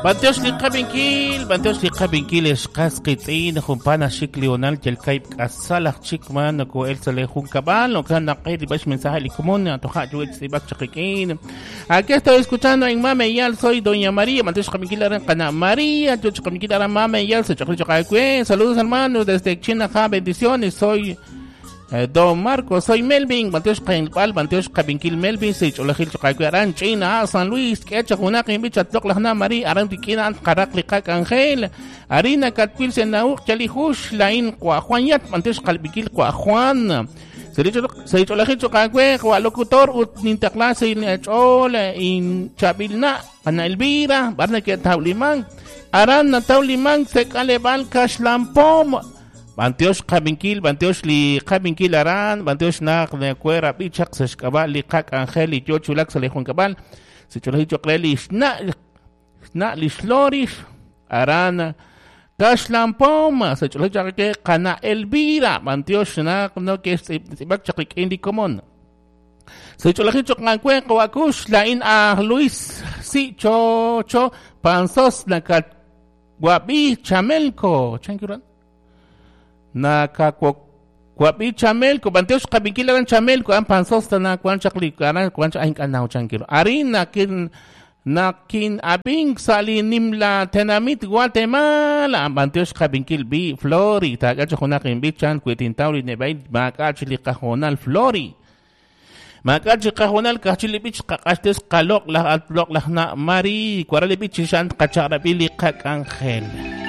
Bantiox li qabinkil xqas qitz'in jumpana xik Leonal yalkayb k'asal aj chik man noko el sale junkab'al no kan naqe li bax mensaje li komon toja chuwech tz'ib'ak chaqiq'in. Aquí estoy escuchando en Mameyal, soy Doña María. Bantiox qabinkil aran qana María, chuch qabinkil aran Mameyal, se chaqri chaqaywe. Saludos, hermanos, desde China, ja, bendiciones. Soy Don Marcos, soy Melvin, Bantiox qainb'al, Bantiox qabinkil Melvin, se ch'olajil chaqaywe aran China, San Luis, k'echa junaq inb'ich atloq lajna María, aran tik'ina ant qaraq li qak Angel, Arina katwil se nauq chali jush lain qwa Juan yat, Bantiox qalbikil qwa Juan. Se ch'olajil chaqaywe qwa locutor ut nintaqla se ch'ol in chabilna Ana Elvira, barna ke tawliman, aran na tawliman se kalebal kashlampom. Bantiox qabinkil, bantiox li qabinkil aran, bantiox naq de cuera bichaq se xk'ab'a li qak Angel y yo chulak se le junkab'al, se chulaji choqre li xna xna li xlorix aran kashlampom, se chulaji chaqke qana Elvira, bantiox naq no ke tz'ib'ak chaqik'in li komon. Se chulaji choqanwe qawakush la in a Luis si cho cho pansos nakat wabi chamelko chankiran Nakakwakwabi chamelko bantiox qabinkil aran chamelko an pansos na kwan chaqli aran kwan ahin kanaw chankiro arin nakin nakin abing sali nimla tenamit Guatemala bantiox qabinkil bi Flori tagacho junakin bi chan kuitintawli nebay makachili qajonal Flori Makachi qajonal kachili bich qaqashtes qaloq laj atlok laj na Mari kwarali bich shan qacharabili qak Angel.